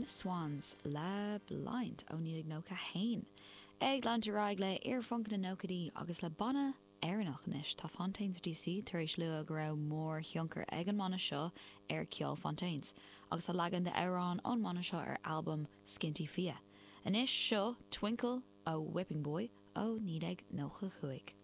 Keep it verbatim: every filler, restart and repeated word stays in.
Sin Swans le Blind ó naoi déag nócha haon. Ag leanúint ar aghaidh le iarphunc na nóchaidí agus le banna Éireannach anois tá Fontaines DC tar éis lua go raibh mórthionchar ag an mbanna seo ar ceol Fontaines, agus tá leagan d'amhrán ón mbanna seo ar albam Skinty Fia. Anois seo Twinkle ó Whipping Boy ó naoi déag nócha cúig.